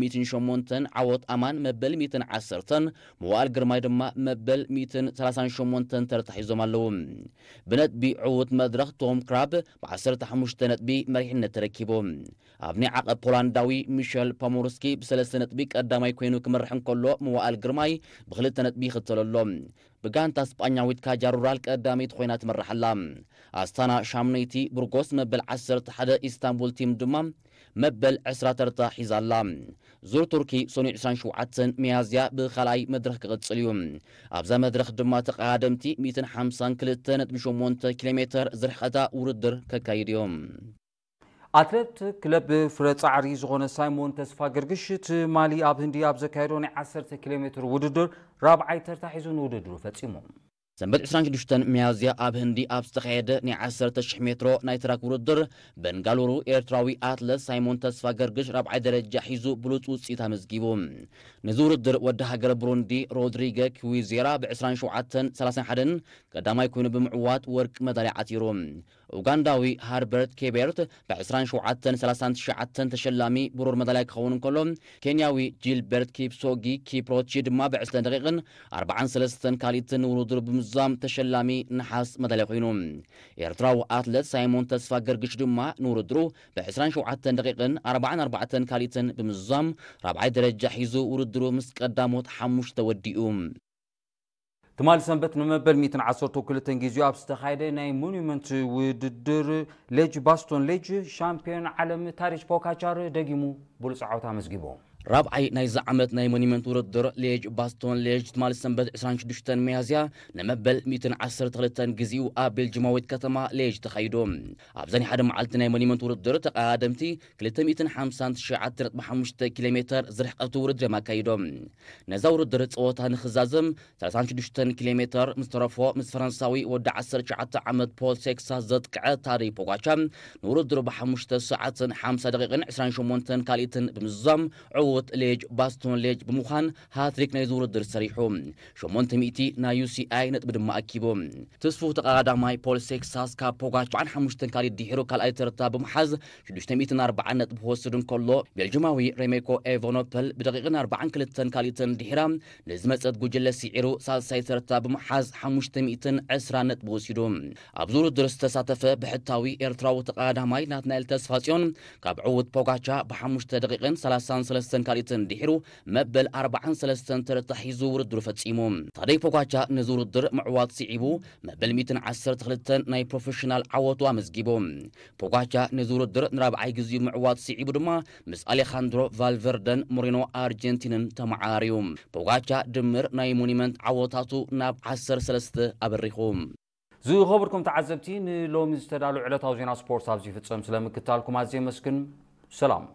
ሚእትን ሸሞንተን፣ ዓወት ኣማን መበል ሚእትን ዓሰርተን፣ መዋእል ግርማይ ድማ መበል ሚእትን ሰላሳን ሸሞንተን ተርታ ሒዞም ኣለዉ። ብነጥቢ ዕዉት መድረኽ ቶም ክራብ ብ ዓሰርተ ሓሙሽተ ነጥቢ መሪሕነት ተረኪቡ። ኣብ ናይ ዓቐብ ፖላንዳዊ ሚሸል ፖሞርስኪ ብሰለስተ ነጥቢ ቀዳማይ ኮይኑ ክመርሕ እንከሎ፣ መዋእል ግርማይ ብክልተ ነጥቢ ይኽተሎ ኣሎ። ብጋንታ ስጳኛዊት ካጃ ሩራል ቀዳመይቲ ኮይና ትመርሕ ኣላ። ኣስታና ሻምነይቲ፣ ብርጎስ መበል ዓሰርተ ሓደ፣ ኢስታንቡል ቲም ድማ መበል ዕስራ ተርታ ሒዛ ኣላ። ዙር ቱርኪ ሰኑይ ዕስራን ሸውዓተን ሚያዝያ ብኻልኣይ መድረኽ ክቕጽል እዩ። ኣብዛ መድረኽ ድማ ተቐዳደምቲ ሚእትን ሓምሳን ክልተ ነጥቢ ሸሞንተ ኪሎ ሜተር ዝርሕቐታ ውድድር ከካይዱ እዮም። ኣትሌት ክለብ ፍረ ጻዕሪ ዝኾነ ሳይሞን ተስፋ ገርግሽ ትማሊ ኣብ ህንዲ ኣብ ዘካየዶ ናይ ዓሰርተ ኪሎ ሜትር ውድድር ራብዓይ ተርታ ሒዙ ንውድድሩ ፈጺሙ። ሰንበት ዕስራን ሽዱሽተን ሚያዝያ ኣብ ህንዲ ኣብ ዝተኻየደ ናይ ዓሰርተ ሽሕ ሜትሮ ናይ ትራክ ውድድር በንጋሉሩ፣ ኤርትራዊ ኣትለት ሳይሞን ተስፋ ገርግሽ ራብዓይ ደረጃ ሒዙ ብሉጽ ውጽኢት ኣመዝጊቡ። ነዚ ውድድር ወዲ ሃገረ ብሩንዲ ሮድሪገ ክዊዜራ ብ ዕስራን ሸውዓተን ሰላሳን ሓደን ቀዳማይ ኮይኑ ብምዕዋት ወርቂ መዳልያ ዓቲሩ። ኡጋንዳዊ ሃርበርት ኬቤርት ብ ዕስራን ሸውዓተን ሰላሳን ትሽዓተን ተሸላሚ ብሩር መዳልያ ክኸውን እንከሎ፣ ኬንያዊ ጂልበርት ኪፕሶጊ ኪፕሮቺ ድማ ብ ዕስራን ደቂቕን ኣርባዓን ሰለስተን ካልኢትን ንውድድሩ ብምዝዛም ተሸላሚ ነሓስ መዳልያ ኮይኑ። ኤርትራዊ ኣትለት ሳይሞን ተስፋ ገርግሽ ድማ ንውድድሩ ብ ዕስራን ሸውዓተን ደቂቕን ኣርባዓን ኣርባዕተን ካልኢትን ብምዝዛም ራብዓይ ደረጃ ሒዙ ውድድሩ ምስ ቀዳሞት ሓሙሽተ ወዲኡ። ትማሊ ሰንበት ንመበል ሚእትን ዓሰርተ ክልተን ግዜኡ ኣብ ዝተኻየደ ናይ ሞኒመንት ውድድር ሌጅ ባስቶን ሌጅ ሻምፒዮን ዓለም ታሪጅ ፖካቻር ደጊሙ ብሉጽ ዓወት ኣመዝጊቡ። ራብዓይ ናይዚ ዓመት ናይ ሞኒመንት ውድድር ሌጅ ባስቶን ሌጅ ትማሊ ሰንበት ዕስራን ሽዱሽተን ሚያዝያ ንመበል ሚእትን ዓሰርተ ክልተን ግዜኡ ኣብ ቤልጅማዊት ከተማ ሌጅ ተኻይዱ። ኣብዛ ናይ ሓደ መዓልቲ ናይ ሞኒመንት ውድድር ተቐዳደምቲ ክልተ ሚእትን ሓምሳን ትሽዓተ ነጥቢ ሓሙሽተ ኪሎ ሜተር ዝርሕቀቱ ውድድር እዮም ኣካይዶም። ነዛ ውድድር ጸወታ ንኽዛዘም ሰላሳን ሽዱሽተን ኪሎ ሜተር ምስ ተረፎ፣ ምስ ፈረንሳዊ ወዲ ዓሰርተ ትሽዓተ ዓመት ፖል ሴክሳስ ዘጥቅዐ ታደይ ፖጋቻ ንውድድሩ ብሓሙሽተ ሰዓትን ሓምሳ ደቂቕን ዕስራን ሸሞንተን ካልኢትን ብምዝዛም ዕዉት ሌጅ ባስቶን ሌጅ ብምዃን ሃትሪክ ናይዚ ውድድር ሰሪሑ። ሸሞንተ ሚእቲ ናይ ዩ ሲ ኣይ ነጥቢ ድማ ኣኪቡ። ትስፉ ተቐዳዳማይ ፖል ሴክሳስ ካብ ፖጋቻ ኣርባዓን ሓሙሽተን ካልኢት ድሒሩ ካልኣይ ተርታ ብምሓዝ ሽዱሽተ ሚእትን ኣርባዓን ነጥቢ ክወስድ እንከሎ፣ ቤልጅማዊ ሬሜኮ ኤቨኖፐል ብደቂቕን ኣርባዓን ክልተን ካልኢትን ድሒራ ንዝመጸት ጉጅለ ስዒሩ ሳልሳይ ተርታ ብምሓዝ ሓሙሽተ ሚእትን ዕስራን ነጥቢ ወሲዱ። ኣብዚ ውድድር ዝተሳተፈ ብሕታዊ ኤርትራዊ ተቐዳዳማይ ናትናኤል ተስፋጽዮን ካብ ዕዉት ፖጋቻ ብሓሙሽተ ደቂቕን ሰላሳን ሰለስተን ካልኢትን ድሒሩ መበል ኣርባዓን ሰለስተን ተርታ ሒዙ ውድድሩ ፈጺሙ። ታደይ ፖጋቻ ነዚ ውድድር ምዕዋት ስዒቡ መበል ሚእትን ዓሰርተ ክልተን ናይ ፕሮፌሽናል ዓወቱ ኣመዝጊቡ። ፖጋቻ ነዚ ውድድር ንራብዓይ ግዜኡ ምዕዋት ስዒቡ ድማ ምስ ኣሌኻንድሮ ቫልቨርደን ሞሪኖ ኣርጀንቲንን ተመዓራርዩ። ፖጋቻ ድምር ናይ ሞኒመንት ዓወታቱ ናብ ዓሰርተ ሰለስተ ኣበሪኹ። ዝኸበርኩም ተዓዘብቲ፣ ንሎሚ ዝተዳሉ ዕለታዊ ዜና ስፖርት ኣብዚ ይፍጸም። ስለምክታልኩም ኣዝየ የመስግን። ሰላም።